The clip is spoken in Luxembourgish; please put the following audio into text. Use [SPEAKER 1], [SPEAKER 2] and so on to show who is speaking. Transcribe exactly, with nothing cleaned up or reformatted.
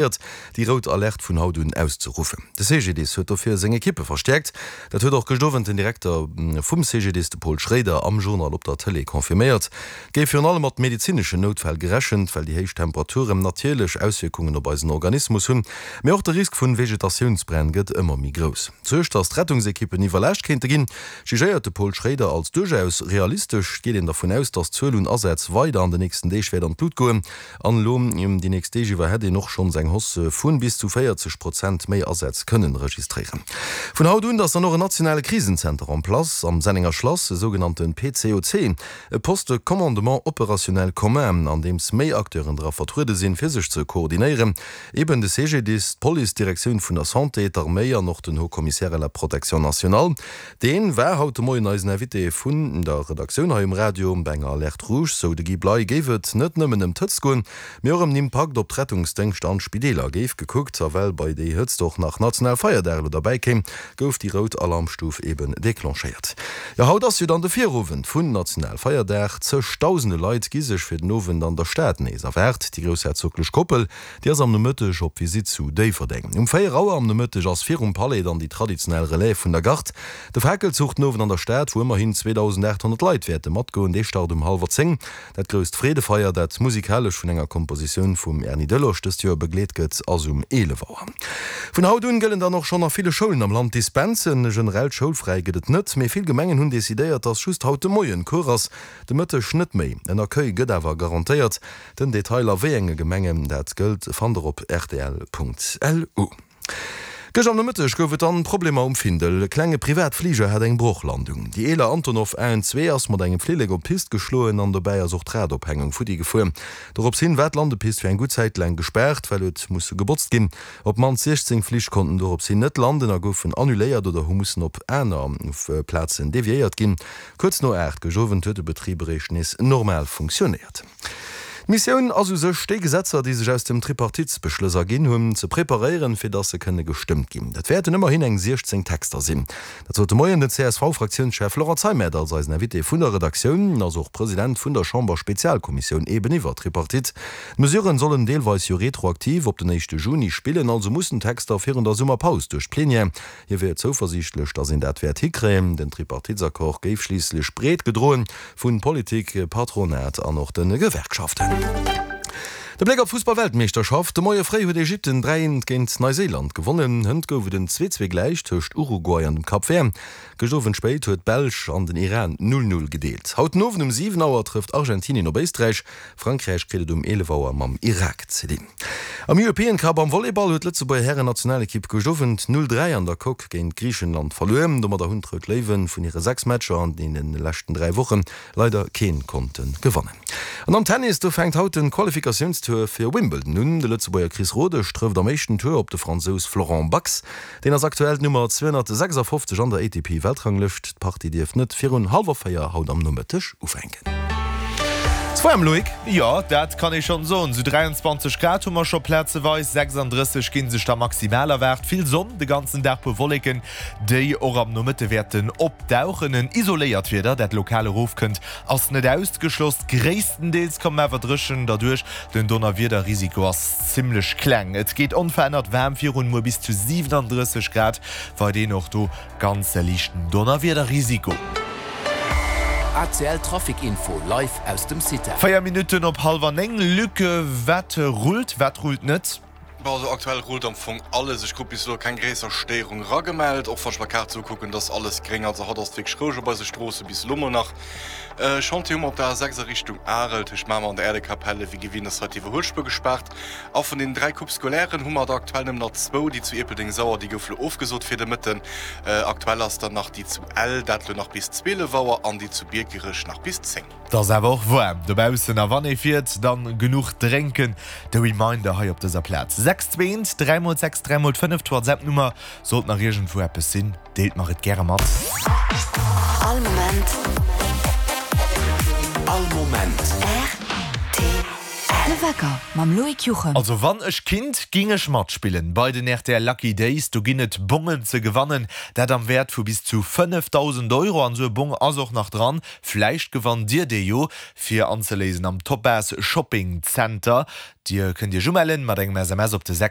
[SPEAKER 1] déi rout Alerte vun haut un auszeruffen. De CGDIS huet dofir seng Ekippe verstäerkt. Dat huet och gëscht Owend den Direkter vum CGDIS, de Paul Schraeder, am Journal op der Tëlee confirméiert. Et géif virun allem mat medezineschen Noutfäll gerechent, well déi héich Temperaturen natierlech Auswierkungen op eisen Organismus hunn. Mee och de Risk vun Vegetatiounsbränn gëtt ëmmer méi grouss. D'Suerg, datt d'Rettungsekippen iwwerlaascht kéinte ginn, jugéiert de Paul Schraeder als duerchaus realistesch. Et geet een dervun aus, datt d'Zuel un Asätz weider an den nächsten Deeg wäert an d'Lut goen. An elo déi nächst Deeg iwwer hätt een och schonns eng Hausse vu bis zu véierzeg Prozent méi Asätz kënnen registréieren. Vun haut un ass dann och en nationale Krisenzenter en place am Sennenger Schlass, e sougenannte P C O C, e Poste de commandement opérationnel commun, an deems méi Acteuren dra vertruede sinn, fir sech ze koordinéieren, eben de C G D I S, d'Police, d'Direktioun vun der Santé, d'Arméi an och den Haut Commissaire à la protection nationale. Dee war haut de Moien eisen Invité vun der Redaktioun hei um Radio. Bei enger Alerte rouge, sou de Guy Bley, géif et net nëmmen ëm d'Hëtzt goen, mee och ëm den Impakt op d'Rettungsdéngschter an d'Spideeler géif gekuckt. A well bei déi Hëtzt och nach Nationalfeierdag elo derbäi kéim, gouf déi rout Alarmstuf eben declenchéiert. Jo, haut ass jo dann de Virowend vun Nationalfeierdag. Zegdausende Leit gi sech fir den Owend an der Stad nees erwaart. Déi groussherzoglech Koppel, déi ass am Nomëtteg op Visitt zu Déifferdeng. Um véier Auer am Nomëtteg ass virum Palais dann déi traditionell Relève vun der Garde. De Fakelzuch den Owend an der Stad, wou ëmmerhin zweedausendaathonnert Leit wäerte matgoen, dee start um hallwer zéng. Dat grousst Freedefeier, dat musikalesch vun enger Kompositioun vum Erny Delosch dëst Joer begleet gëtt, ass um eelef Auer. Vun haut un gëllen dann och schonn a ville Schoulen am Land Dispensen. E generellt Schoulfräi gëtt et net, mee vill Gemengen hunn decidéiert, dass just haut de Moien Cours ass, de Mëtteg net méi. En Accueil gëtt awer garantéiert. Den Detail a wéi enge Gemengen dat gëllt, fannt der op rtl Punkt L U. Gëscht am Nomëtteg gouf et dann Problemer um Findel. E klenge Privatfliger hat eng Brochlandung. Déi eeler Antonov A N zwee ass mat engem Flillek op d'Pist geschloen an dobäi ass och d'Radophängung futti gefuer. Dorops hin war d'Landepist fir eng gutt Zäit laang gespaart, well huet musse gebotzt ginn. Op d'mannst siechzéng Flich konnten dorops hin net landen a goufen annuléiert oder hu mussen op aner Plazen deviéiert ginn. Kuerz no aacht gëscht Owend huet de Betrib eréischt nees normal funktionéiert. D'Missioun ass u sech, déi Gesetzer, déi sech aus dem Tripartitesbeschlëss erginn hunn, ze preparéieren, fir datt se kënne gestëmmt ginn. Dat wäerten ëmmerhin eng siechzéng Texter sinn. Dat sot de Moien den C S V-Fraktiounschef Laurent Zeimet als eisen Invité vun der Redaktioun. En ass och President vun der Chamber-Spezialkommissioun eben iwwer d'Tripartite. D'Mesuren sollen deelweis jo retroaktiv op den éischte Juni spillen, also mussen d'Texter virun der Summerpaus duerch d'Plenière. Hie wier zouversiichtlech, datt een dat wäert hikréien. Den Tripartitesaccord géif schliisslech breet gedroen vu Politik, Patronat an och de Gewerkschaften. De Bléck op d'Fussball-Weltmeeschterschaft, De Moie fréi huet Ägypten dräi eent géint Neuséiland gewonnen. Hënt gouf et en zwee zwee gläich tëscht Uruguay an dem Cap Vert. Gëscht Owend spéit huet d'Belsch an den Iran null null gedeelt. Haut den Owend um siwen Auer trëfft Argentinien op Éisträich. Frankräich kritt et um eelef Auer mam Irak ze dinn. Am European Cup am Volleyball huet d'Lëtzebuerger Hären-Nationalekipp gëscht Owend null dräi an der Coque géint Griichenland verluer. Domadder hunn d'Rout Léiwe vun hire sechs Matcher an deene leschten dräi Woche leider kee konnte gewannen. An am Tennis, do fänkt haut de Qualifikatiounstour fir Wimbledon un. De Lëtzebuerger Chris Rodesch trëfft am éischten Tour op de Fransous Florent Bax. Deen ass aktuell d'Nummer zweehonnertsechsafofzeg an der A T P-Weltranglëscht. D'Partie dierft net virun hallwer véier haut am Nomëtteg ufänken. Et ass waarm, Loïc?
[SPEAKER 2] Jo, dat kann ee schonn soen. Sou dräianzwanzeg Grad hu mer scho plazeweis, sechsanddrësseg gi sech da maximal erwaart. Vill Sonn de ganzen Dag, puer Wolleken, déi och am Nomëtte wäerten opdauchen. En isoléiert Wieder, dat lokal erofkënnt, ass net ausgeschloss. Gréisstendeels kommen awer dréchen derduerch. Den Donnerwiederrisiko ass zimmlech kleng. Et geet onverännert waarm virun, muer bis zu siwenandrësseg Grad, weiderhin och do ganz liichten Donnerwiederrisiko.
[SPEAKER 3] A C L Trafic Info live aus dem CITEL.
[SPEAKER 2] Véier Minutten op hallwer néng. Luc, wat rullt, wat rullt net?
[SPEAKER 4] Bon, also aktuell rullt am Fong alles. Ech krut bis elo keng gréisser Stéierung ragemellt. Och wann ech mer d'Kaart esou kucken, dat ass alles gréng. Also haut ass et wierklech roueg op eise Stroosse bis elo mol nach. Chantier hu mer op der A sechs a Richtung Arel tëscht Mamer an der Äerdekapelle. Wéi gewinnt ass hei d'Iwwerhuelspuer gespaart. A vun den dräi Coupes scolairen hu mer der aktuell nëmmen nach zwou. Déi zu Ierpeldeng-Sauer, déi gouf elo ofgesot fir de Mëtten. Aktuell ass dann nach déi zu Ell, dat elo nach bis zwielef Auer, an déi zu Biekerech nach bis zéng.
[SPEAKER 2] Et ass awer och waarm dobaussen a wann ee fiert, dann genuch drénken. De Reminder hei op dëser Plaz. Sechs zwee eent dräi mol sechs dräi mol fënnef, d'WhatsApp-Nummer. Sollt nach iergendwou eppes sinn, deelt mer et gäre mat.
[SPEAKER 5] All Moment.
[SPEAKER 3] All Moment.
[SPEAKER 5] R T L. De Wecker mam Loïc Juchem.
[SPEAKER 2] Also wann ech kinnt, ging ech matspillen bei den rtl Lucky Days. Do ginn et Bongen ze gewannen, dat am Wäert vu bis zu fënnefdausend Euro. An esou e Bong ass och nach dran. Vläicht gewannt dir dee jo fir anzeléisen am Topaz Shopping Center. Dir kënnt iech umellen mat engem S M S op de sechs